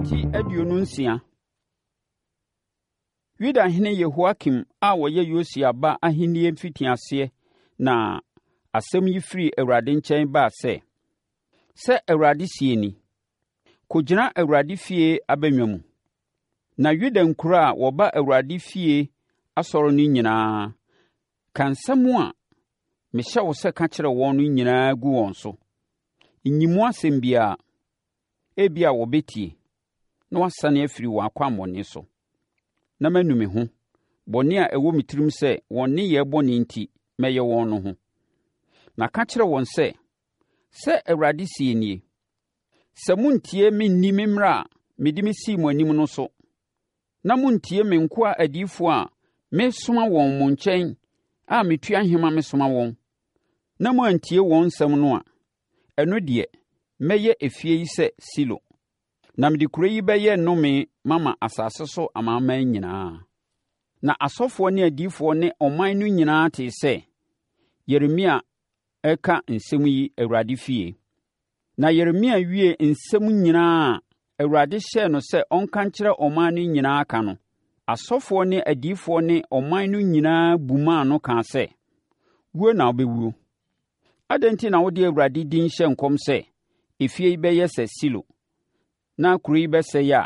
Ti 26. Yudahene Yehoiakim a ɔyɛ Yosia ba ahennie mfitiaseɛ na asɛm yi firi Awurade nkyɛn baa sɛ, Sɛ Awurade seɛ nie: Kɔgyina Awurade fie abannwa mu, na Yuda nkuro a wɔba Awurade fie asɔre no nyinaa, ka nsɛm a mehyɛ wo sɛ ka kyerɛ wɔn no nyinaa gu wɔn so. Nyi mu asɛm biara. Ebia wɔbɛtie, na wɔasane afiri wɔn akwammɔne so, na manu me ho, bɔne a ɛwɔ me tirim sɛ wɔn nneyɛɛ bɔne enti mɛyɛ wɔn no ho. Na ka kyerɛ wɔn sɛ, 'Sɛ Awurade seɛ nie: Sɛ monntie me nni me mmara a mede mesii mo anim no so, na monntie me nkoa adiyifoɔ a mesoma wɔn mo nkyɛn a metua nhema mesoma wɔn, na moantie wɔn nsɛm no a, ɛno deɛ, mɛyɛ efie yi sɛ Silo, na mede kuro yi bɛyɛ nnome mama asase so amanaman nyinaa. Na asɔfoɔ ne adiyifoɔ ne ɔman no nyinaa tee sɛ Yeremia reka nsɛm yi Awurade fie. Na Yeremia wiee nsɛm nyinaa a Awurade hyɛɛ no sɛ ɔnka nkyerɛ ɔman no nyinaa ka no, asɔfoɔ ne adiyifoɔ ne ɔman no nyinaa bumaa no kaa sɛ, Wuo na wobɛwuo. Adɛn enti na wode Awurade din hyɛ nkɔm sɛ, efie yi bɛyɛ sɛ Silo, na kuro yi bɛsɛe a.